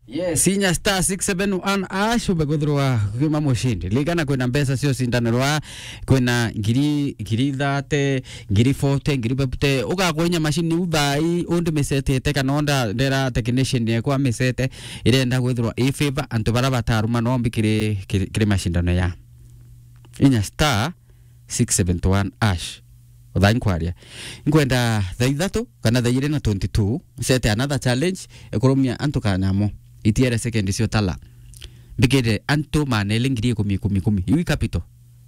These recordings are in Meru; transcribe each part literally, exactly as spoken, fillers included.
Yes, inya star six seven one hash, umbe kwithirwa kwima mushindi. Ligana kwina mbeca cio cindanirwa, kwina ngiri, ngiri thirty, ngiri forty, ngiri fifty. Ugakwa inya machine u thaa ii, undi misetete kana onda ndera technician yekwa misete, irenda kwithirwa i favor antu bara bataruma nombi kiri, kiri, kiri mashindano ya. Inya star six seven one hash. Uthaa nkwaria. Nkwenda thaa ithatu kana thaa igiri na twenty-two, nsete another challenge, ikurumia antu kanyamo. Itiere second cio tala. Mbikire antu manele ngiri ikumi, ikumi, ikumi. Iu i capital.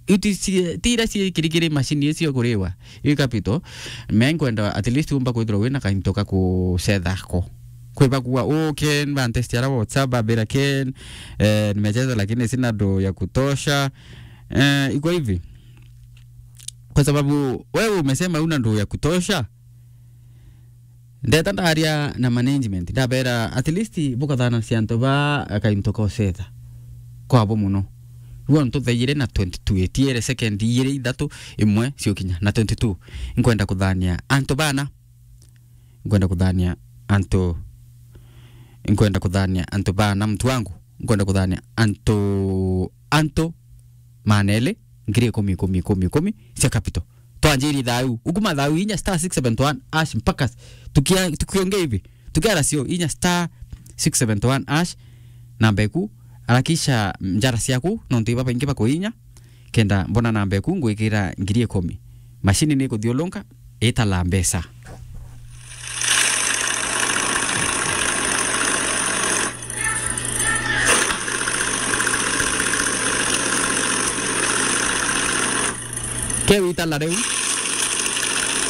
Iu ti ci-, ti iria ciikirikiri machine icio kuriwa. Iu i capital. Me nkwenda at least umba kwithirwa wina kainto ka kucetha ko. Kwi bakuga, "Oh, Ken, bantesti ara WhatsApp, babira Ken, eh, nimecheza lakini sina do ya kutosha." Eh, iko hivi. Kwa sababu wewe umesema una ndoo ya kutosha. Ndeta ndaria na management, ndabera at least bukathana cia antu ba akainto ka ucetha. Kwabo muno. Ruo ntu thaire na twenty-two, etiere second igiri ithatu imwe ciokinya na twenty-two. Nkwenda kuthania antu bana. Nkwenda kuthania antu, nkwenda kuthania antu bana, mtu wangu. Nkwenda kuthania antu, antu manele, ngiri ikumi, ikumi, ikumi, ikumi cia capital. Twanjiri thau, ukuma thau inya star six seven one hash mpaka tukia-, tukiongea hivi. Tukiara cio inya star six seven one hash, namba eku, arakisha njara ciaku, nontu iba baingi bakuinya, kenda mbona namba eku ngwikira ngiri ikumi. Machine ni ikuthiulunka, itala mbeca. Keu itala riu.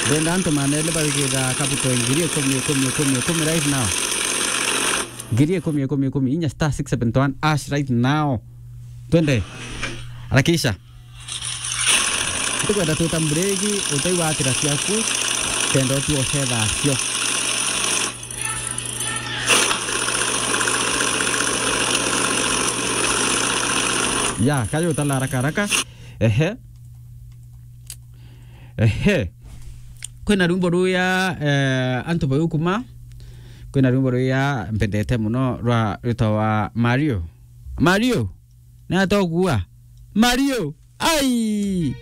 Ndenda antu manele bawikira capital ngiri ikumi, ikumi, ikumi, ikumi right now. Ngiri ikumi, ikumi, ikumi, inya star six seven one hash right now. Twende. Harakisha. Tukwenda twita mbureki, utai watira ciaku, kenda utua ucetha cio. Ya, kayo utala haraka haraka. Ehe. Ehe. Kwina rwimbo ruya, eh, antu bau kuma. Kwina rwimbo ruya mpendete muno rwa, rwitawa Mario. Mario. Ni atogua. Mario. Ai!